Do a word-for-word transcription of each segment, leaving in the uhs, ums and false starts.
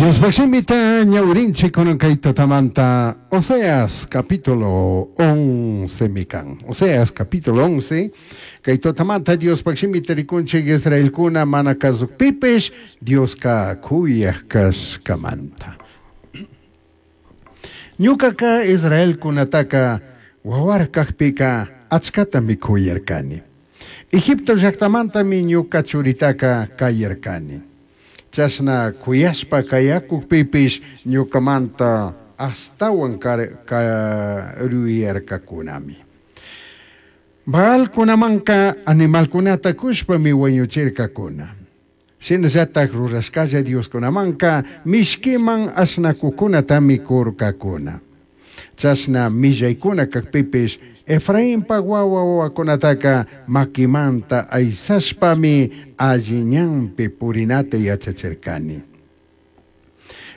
Diospaj shimita ñawirinchik kunan kay tutamanta Oseas capítulo once mikan. Oseas capítulo once kay tutamanta Diospaj shimita rikunchik Israelkuna mana kasukpipish Dioska kuyaj kashkamanta. Ñukaka Israelkunataka wawarkakpika achkatami kuyarkani. Egipto llaktamantami ñuka churitaka kayarkani. Chashna kuyashpa kayakukpipish ñukamanta ashtawan karuyarkakunami. Baalkunamanka animalkunata kushpami wañuchirkakuna. Shinallatak rurashkalla Dioskunamanka mishkiman ashnakukunatami kurkakuna. Chashna millaykuna kakpipish Efrainpa wawa wawakunataka makimanta aysashpami alli ñanpi purinata yachachirkani.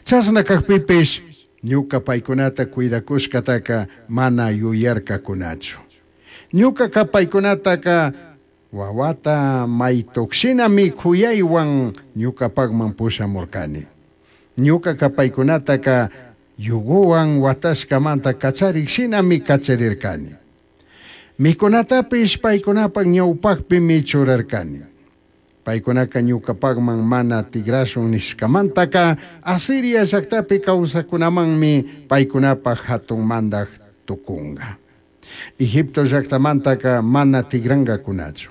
Chashna kakpipish ñuka paykunata cuidakushkataka mana yuyarkakunachu. Ñukaka paykunataka wawata maytukshinami kuyaywan ñukapakman pushamurkani. Ñukaka paykunataka yuguwan watashkamanta kacharikshinami kacharirkani. Mikunatapish paykunapak ñawpakpimi churarkani. Paykunaka ñukapakman mana tigrashun nishkamantaka Asiria llaktapi kawsakunamanmi paykunapak hatun mandak tukunga. Egipto llaktamantaka mana tigrangakunachu.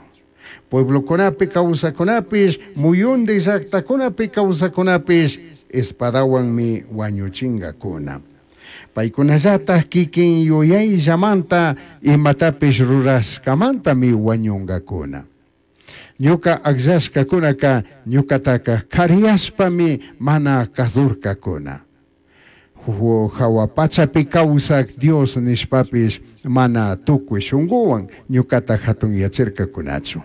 Pueblokunapi kawsakunapish, muyundi llaktakunapi kawsakunapish espadawanmi wañuchingakuna. Paykunallataj kikin yuyayllamanta imatapish rurashkamantami wañungakuna. Ñuka akllashkakunaka ñukataka kariyashpami mana kasurkakuna. Jawa pachapi kawsak Dios nishpapish mana tukuy shunkuwan ñukata hatunyachirkakunachu.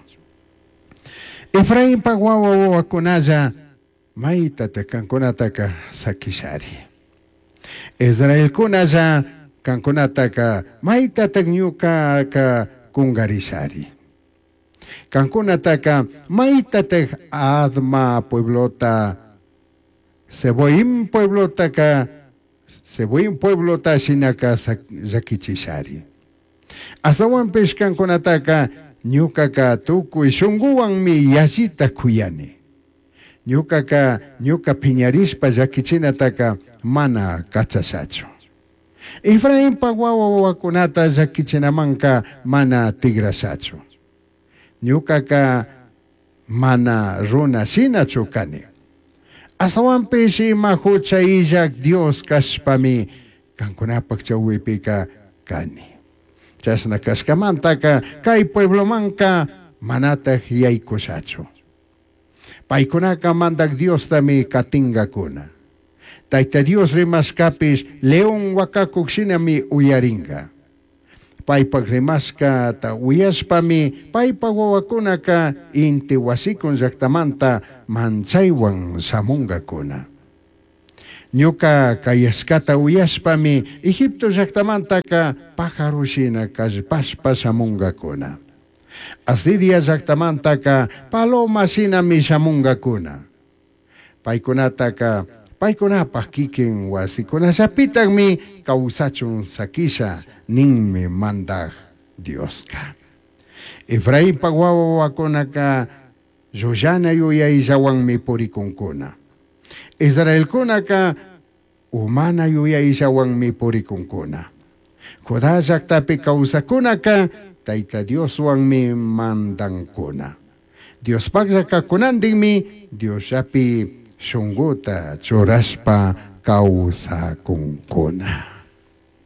Efrainpa wawa wawakunalla maytata kankunataka sakishari. Israelkunalla kankunataka maytatak ñukaka kungarishari. Kankunataka maytatak Adma pueblota, Zeboim pueblotaka, Zeboim pueblota shinaka llakichishari. Astawanpish kankunataka ñukaka tukuy shunkuwanmi yallita kuyani. Ñukaka ñuka piñarishpa llakichinataka mana kachashachu. Efrainpa wawa wawakunata llakichinamanka mana tigrashachu. Ñukaka mana runa shinachu kani. Astawanpish ima hucha illak Dios kashpami kankunapak chawpipika kani. Chashna kashkamantaka kay pueblomanka manataj yaykushachu. Paykunaka mandak Diostami katingakuna. Tayta Dios rimashkapish león wakakuk shinami uyaringa. Paypak rimashkata uyashpami paypak wawakunaka inti wasikun llaktamanta manchaywan shamungakuna. Ñuka kayashkata uyashpami Egipto llaktamantaka pájaro shina kallpashpa shamungakuna. Asiria llaktamantaka paloma shinami shamungakuna. Paykunataka paykunapak kikin wasikunallapitakmi kawsachun sakisha ninmi mandak Dioska. Efrainpa wawa wawakunaka llullana yuyayllawanmi purikunkuna. Israelkunaka umana yuyayllawanmi purikunkuna. Judá llaktapi kawsakunaka Tayta Dioswanmi mandankuna. Diospaklla kakunantinmi Diosllapi shunkuta churashpa kawsakunkuna.